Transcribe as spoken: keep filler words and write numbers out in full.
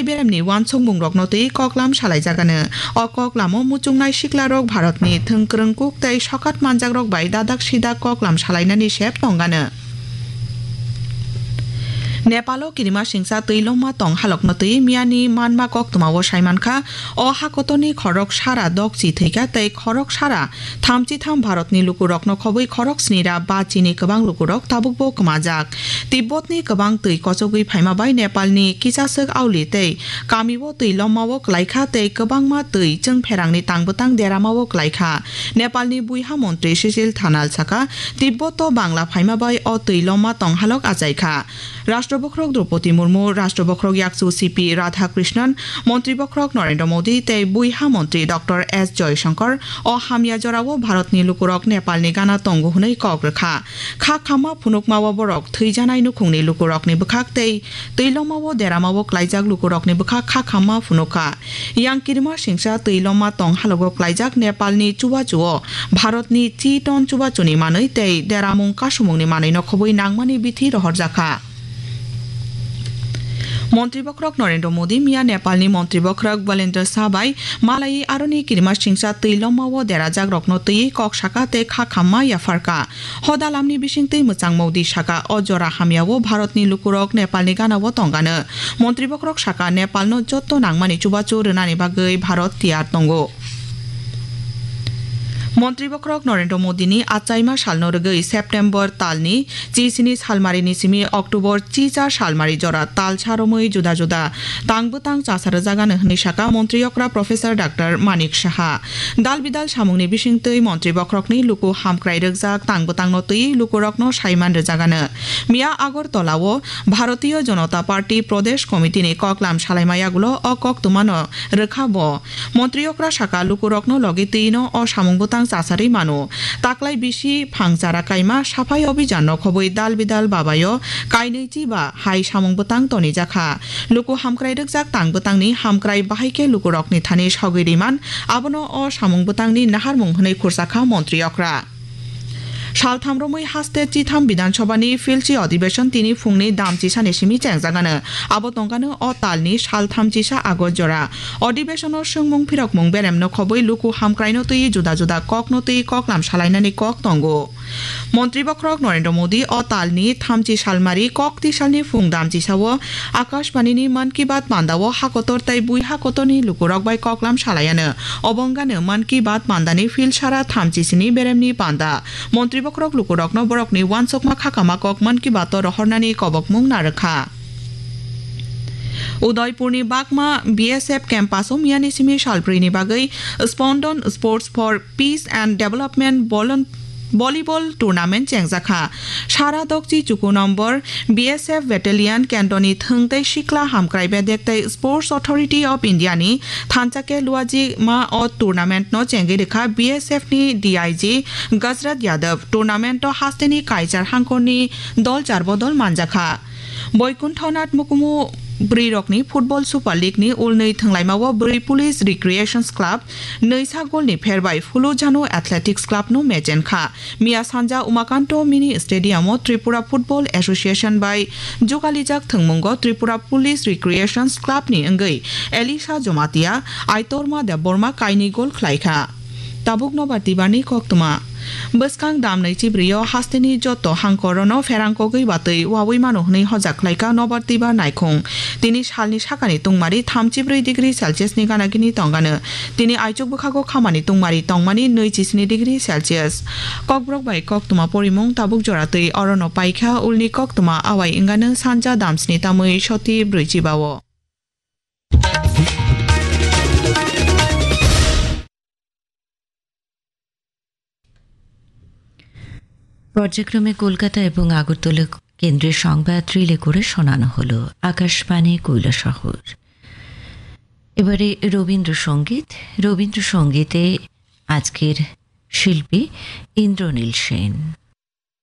beremni uansukmungrokno twi koklam salaijagano. O koklamo muchungnai siklarok Bharatni thwngkwrwng kuk tei sokat manjakrok bai dadak sidak koklam salainani sep tongano. Nepalo kirima singsa twi lomma tong halokno twi miyani manma koktwmao saimankha, o hakotorni khorok sara dokchi thwikha tei khorok sara thamchi tham Bharatni lukurokno khobwi khorok snira ba chini kwbang lukurok tabukbo kwmajak. Tibbotni kwbang twi kochogwi phaima bai Nepalni kisaswk auli tei kamio twi lommao klaikha tei kwbangma twi chwngpherangni tangbwtang deramao klaikha. Nepalni buiha montri Sisil Thanal saka, Tibboto Bangla phaima bai o twi lomma tong halok achaikha. Rashtra bokhorok Droupadi Murmu, Rashtra bokhorok yakchu C P Radhakrishnan, Montri bokhorok Narendra Modi tei buiha montri Doctor S Jaishankar o hamya jorao Bharatni lukurok Nepalni gana tongo hwnwi kok rwkha. Kha khamma phunukmao borok thwijanai nukhungni lukurokni bwkhak tei twi lomao deramao klaijak lukurokni bwkhak kha khamma phunukha. Yang kirima singsa twi lomma tong halogo klaijak Nepalni chubachuo Bharatni chi ton chubachuni manwi tei deramung kasumungni manwino khobwi nangmani bithi rohorjakha. Montri bokhorok Narendra Modi miya Nepalni Montri bokhorok Balendra Shah bai malaiwi aroni kirima singsa twi lomao derajakrokno twiwi kok saka tei kha khamma yapharka. Hoda lamni bisingtwi mwchang Modi saka, o jora hamyao Bharatni lukurok Nepalni ganao tongano. Montri bokhorok saka, Nepalno jotto nangmani chubachu rwnani bagwi Bharat tiyar tongo. Montri bokhorok Narendra Modini achaima salno rwgwi September talni chisini salmarini simi October chichar salmari jora talsa romwi juda juda tang bwtang chasa rwjagano hwnwi saka montri okra Professor Doctor Manik Saha. Dal bidal samungni bisingtwi montri bokhorokni luku hamkrai rwkjak tang bwtangno twi lukurokno saiman rwjagano. Miya Agartala-o Bharatiya Janata Party Pradesh Committee-ni koklam salaima yagulo o koktwmano rwkha bo. Montri okra saka lukurokno logi twino o samung bwtang chasarwi mano. Taklai bisi phang chara kaima saphai obijanno khobwi dal bidal babayo kainwi chiba hai samung bwtang tonijakha. Luku hamkrai rwkjak tang bwtangni hamkrai bahai khe lukurokni thani sogwi riman, abono o samung bwtangni naharmung hwnwi khursakha montri okra. Saltham romwi haste chitham Bidhan Sabhani philsi adhibeshon tini phungni dam chisani simi chengjagano. Abo tongkano o talni saltham chisa August jora. Adhibeshono swngmung phirokmung beremno khobwi luku hamkraino twi juda juda kokno twi koklam salainani kok tongo. Montri bokhorok Narendra Modi o talni thamchi salmari kokti salni phung dam chisao Akashbanini Mann Ki Baat pandao hakotor tei bui hakotorni lukurok bai koklam salaiano. Obo wngano Mann Ki Baat pandani philsara thamchi sini beremni panda. Montri bokhorok lukurokno borokni uansukma khakama kok Mann Ki Baat-o rohornani kobokmung narwkha. Udaipurni Bakma B S F campus-o miyani simi salbrwini bagwi Spondon Sports for Peace and Development bolon-, Volleyball Tournament chengjakha. Sara dokchi chuku nombor B S F Battalion kendroni thwng tei sikla hamkrai bedek tei Sports Authority of India ni thansa khe luaji ma o tournament no chengwi rwkha B S F ni D I G Gajraj Yadav. Tournament o hasteni kaichar hangkorni dol char bodol manjakha. Boikunthonath Mukumu bwrwirokni Football Super League ni ulnwi thwnglaimao bwrwi Police Recreations Club nwisa golni pherbai Phulujhanu Athletics Club no mechenkha. Miya sanja Umakanto Mini Stadium o Tripura Football Association bai jugalijak thwngmungo Tripura Police Recreations Club ni wngwi Elisha Jomatia, Aitorma Debbarma kainwi gol khlaikha. Tabuk nobar tibarni koktwma. Bwskang dam naichi bwrwi o hasteni joto hangkorono pherang kogwi batwi wawi mano hwnwi hojak khlaikha nobar tibar naikhung. Tini salni sakani tungmari thamchi bwrwi degree Celsius ni gana gini tongano. Tini aichuk bwkhago khamani tungmari tongmani nui chisini degree Celsius. Kokborok bai koktwma porimung tabuk jora twi orono paikha ulni koktwma awai wngano sanja damsni tamwi soti brwichi bao. পর্যায়ক্রমে কলকাতা এবং আগরতলা কেন্দ্রের সংবাদ রিলে করে শোনানো হলো আকাশবাণী কৈলাসহর। এবারে রবীন্দ্রসঙ্গীত। রবীন্দ্রসঙ্গীতে আজকের শিল্পী ইন্দ্রনীল সেন।